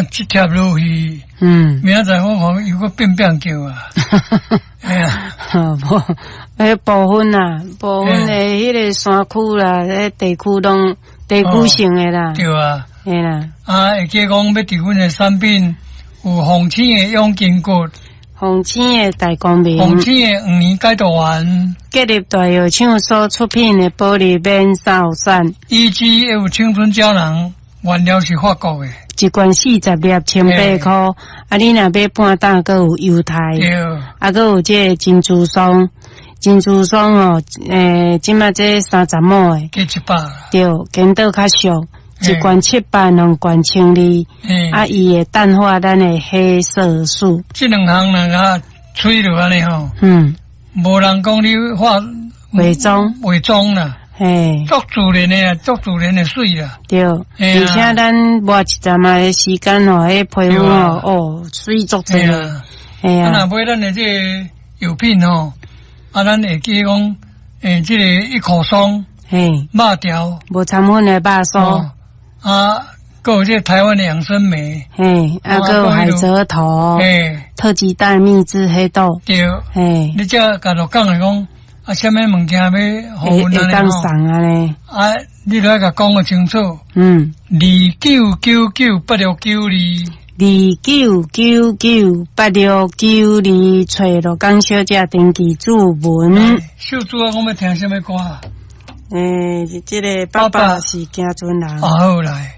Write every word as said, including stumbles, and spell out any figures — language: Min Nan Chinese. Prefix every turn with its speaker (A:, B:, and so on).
A: 若這貼落去，
B: 嗯，
A: 明仔載我看又閣變變叫啊！哎呀，
B: 無，彼部分啊，部分的彼个山區啦，彼地區攏地區性的啦。
A: 對啊。
B: 嘿啦。
A: 啊，會記講欲佇阮的產品有鳳青的養筋骨，
B: 鳳青的大光明，
A: 鳳青的黃連解毒丸，
B: 吉立大藥廠所出品的保利免瘦散，
A: 以及有青春膠囊，原料是法國的，
B: 一罐四十粒，千八箍。啊，你若買半擔，閣有優待。
A: 對。
B: 啊，閣有這个珍珠霜，珍珠霜哦，欸，這馬這三十毫的，
A: 加一百。
B: 對，顛倒較俗，一罐七百，兩罐千二。啊，伊會淡化咱的黑色素。
A: 這兩項若共吹落按呢吼，
B: 嗯，
A: 無人講你化
B: 化妝，
A: 化妝啦。
B: 嘿，
A: 足自然的，足自然的媠啦。
B: 對，而且咱抹一陣仔的時間吼，彼皮膚吼，哦，媠足濟。
A: 嘿啊。啊，若買咱的這個藥品吼，啊，咱會記講，欸，這個一口霜，
B: 嘿，
A: 肉條，
B: 無摻粉的肉酥，
A: 啊，閣有這個台灣的養生梅，
B: 嘿，啊，閣有海蜇頭，
A: 嘿，
B: 特級大秘製黑豆，
A: 對，
B: 嘿，
A: 你這共鹿港來講，啊，啥物物件欲予阮按呢吼？
B: 送按呢？
A: 啊，你著愛共講予清楚。
B: 嗯。
A: 二九九九八六九二。
B: 二九九九八六九二，揣鹿港小姐登記注文。
A: 秀珠啊，我欲聽啥物歌？
B: 欸，這个爸爸是行船人。
A: 啊，好來。